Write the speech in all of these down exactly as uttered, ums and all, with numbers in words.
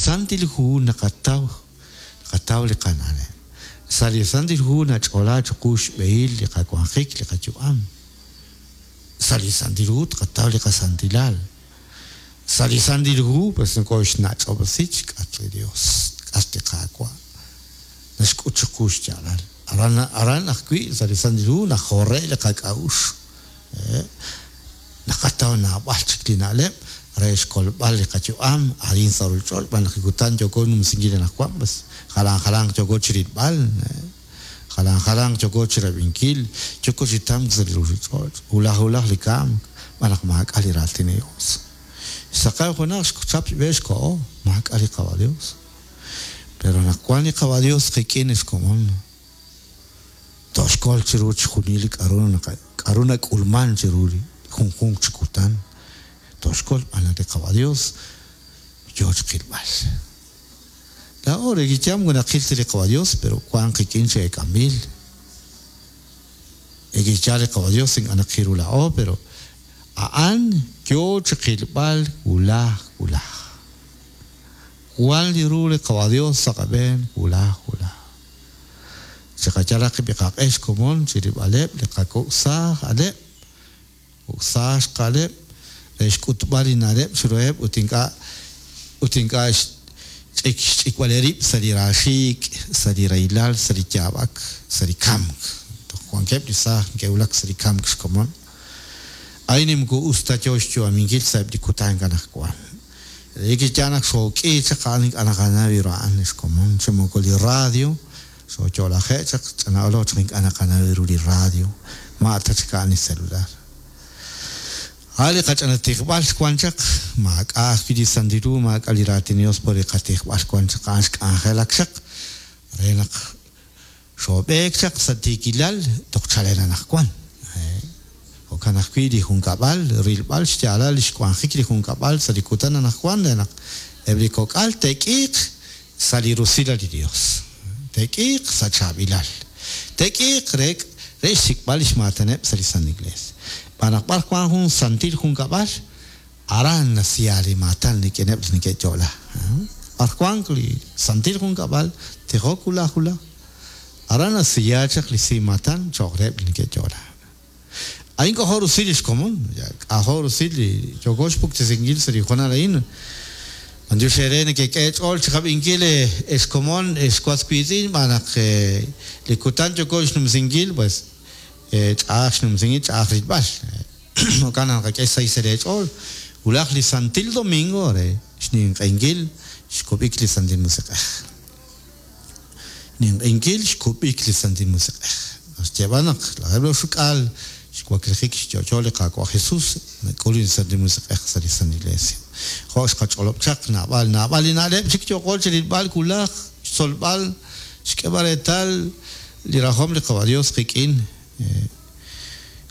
Santil Hu naqataw naqataw li qana'leb'. Sa' li Santil Hu nach'ola chiqu xb'ehil li qawanjik li qayu'am. Sa' li Santil Hu tqataw li qasantilal. Sa' li Santil Hu pues nokoxnach'ob'resi xk'atq li Dios, xk'atq li Qaawa'. Naxk'ut chiqu xyaalal. Aran aran ajwi' sa' li Santil Hu najore' li qak'a'uxl. Naqataw naab'al chik li na'leb' re xkolb'al li qayu'am arin sa' ruuchich'och' b'an naq li kutan yooko numsinkil anaqwan pues jalan jalanq yooko chirilb'al, jalan jalanq yooko chirab'inkil, yooko chi tamk sa' li ruuchich'och', wulaj wulaj li kamk b'an naq maak'a' li raatin li Dios. Xsaqew junaq xchap xb'e xko'o, maak'a' li Qaawa' Dios. Pero naq wan li Qaawa' Dios qik'in xkomon, toxkol chiru chixjunil li k'a'ru k'a'ru nak'ulman chiru li junjunq chi kutan. Toxkol b'an li Qaawa' Dios yoo chiqilb'al. Laa'o re kicham naqil li Qaawa' Dios, pero wan qik'in chi eek'amil. Ekichal li Qaawa' Dios ink'a' naqiru laa'o, pero a'an yoo chiqilb'al wulaj wulaj. Wan li ru li Qaawa' Dios sa' qab'een wulaj wulaj. Chiqachalaq qib' xkomon chirib'aleb' li qakok'saaj aleb', kok'saaj xqaleb', re xk'utb'al li na'leb' chiruheb' ut ink'a' ut ink'a' xch'ik xch'ikb'al sa' li raaxiik', sa' li rahilal, sa' li yaab'ak, sa' li kamk. Toj wankeb' li saaj neke'wulak sa' li kamk xkomon. A'in moko us ta yoo xyu'aminkil sa'eb' li kutan anaqwan. Relik naq xook'i chaq a'an ink'a' naqanaw ru a'an xkomon chi moko li radio, xooyo'laje' chaq ch'ana'olo chaq ink'a' naqanaw ru li radio, ma' ta chik a'an li celular. A' li qach'anatijb'al wan chaq maak'a' ajwi' li Santil Hu, maak'a' li raatin Dios por li qatijb'al wan chaq a'an xk'anjelak chaq re naq xoob'eek chaq sa' tiikilal toj chalen anaqwan. Jo'kan ajwi' li junkab'al, rilb'al xyaalal li xwanjik li junkab'al sa' li kutan anaqwan re naq eb' li kok'al te'k'iiq sa' li rusilal li Dios. Te'k'iiq sa' chaab'ilal. Te'k'iiq re re xsik'b'al li xmaataneb' sa' li San Iglesia. B'an naq b'ar wan jun santil junkab'al, aran nasiya li maatan rik'ineb' li neke'yo'la. B'ar wan li santil junkab'al, tijok wulaj wulaj, aran nasiya chaq li si maatan cho'q reheb' li neke'yo'la. A'in k'ojo rusil li xkomon, k'ajo rusil li yooko xpuktesinkil sa' li hoonal a'in. B'antiox eere nekek'e ch'ool chiqab'inkil exkomon exwas wiitz'in b'an naq li kutan yooko xnumsinkil pues ch'a'aj xnumsinkil ch'a'aj rilb'al. Jo'kan naq naqak'e xsahil sa' eech'ool wulaj li Santil Domingo re xninq'ehinkil xkub'ik li Santil Musiq'ej. Ninq'ehinkil xkub'ik li Santil Musiq'ej. Naxyeeb'al naq laj xuk'al xwaklijik xyo'yo li Qaawa' Jesus nak'ul li Santil Musiq'ej sa' li San Iglesia. Jo' xqach'olob' chaq naab'al naab'al li na'leb' chik yooko chirilb'al wulaj xtzolb'al xk'eb'al reetal li rajom li Qaawa' Dios qik'in.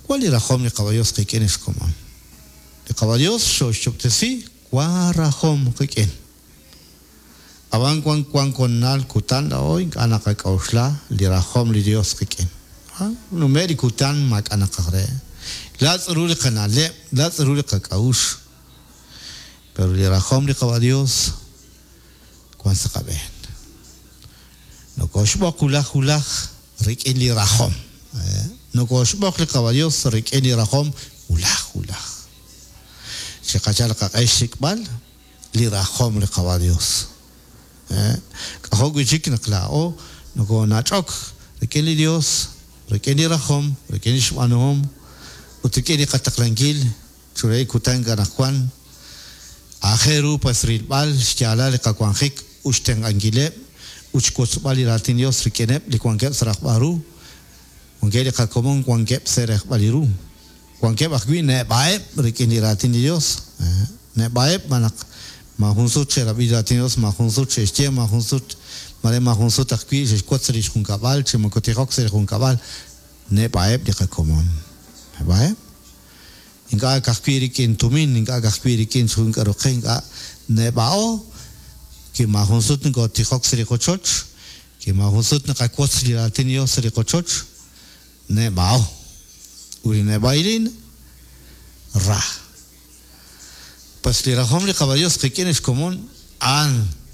Wan li rajom li Qaawa' Dios qik'in xkomon. Li Qaawa' Dios xoxyob'tesi wan rajom qik'in. Ab'an wan wan konal kutan laa'o ink'a' naqak'a'uxla li rajom li Dios qik'in. Nume' li kutan maak'a' naqaj re. Latz' ru li qana'leb', latz' ru li qak'a'uxl. Pero li rajom li Qaawa' Dios wan sa' qab'een. Nokoxb'oq wulaj wulaj rik'in li rajom. Nokoxb'oq li Qaawa' Dios rik'in li rajom wulaj wulaj. Chiqachal qaq'e xsik'b'al li rajom li Qaawa' Dios. K'ajo' wi' chik naq laa'o nokonach'ok rik'in li Dios, rik'in li rajom, rik'in li xb'aanuhom ut rik'in li qataqlankil churey kutan anaqwan. Aajel ru pues rilb'al xyaalal li qawanjik ut xtenq'ankileb' ut xwotzb'al li raatin Dios rik'ineb' li wankeb' sa' rajb'al ru. Wankeb' li qakomon wankeb' sa' rajb'al li ru. Wankeb' ajwi' neb'a'eb' rik'in li raatin li Dios. Neb'a'eb' b'an naq ma jun sut xe'rab'i li raatin Dios, ma jun sut xe'xye, ma jun sut mare ma jun sut ajwi' xe'xwotz li xjunkab'al, chi moko tijok sa' li junkab'al, neb'a'eb' li qakomon. Neb'a'eb'. Ink'a' ka'ajwi' rik'in tumin, ink'a' ka'ajwi' rik'in jun k'aru qe, ink'a' neb'a'o, ki ma jun sut nokotijok sa' li qochoch, ki ma jun sut naqawotz li raatin Dios sa' li qochoch, neb'a'o. Ut li neb'a'ilin, ra. Pues li rajom li Qaawa' Dios qik'in xkomon a'an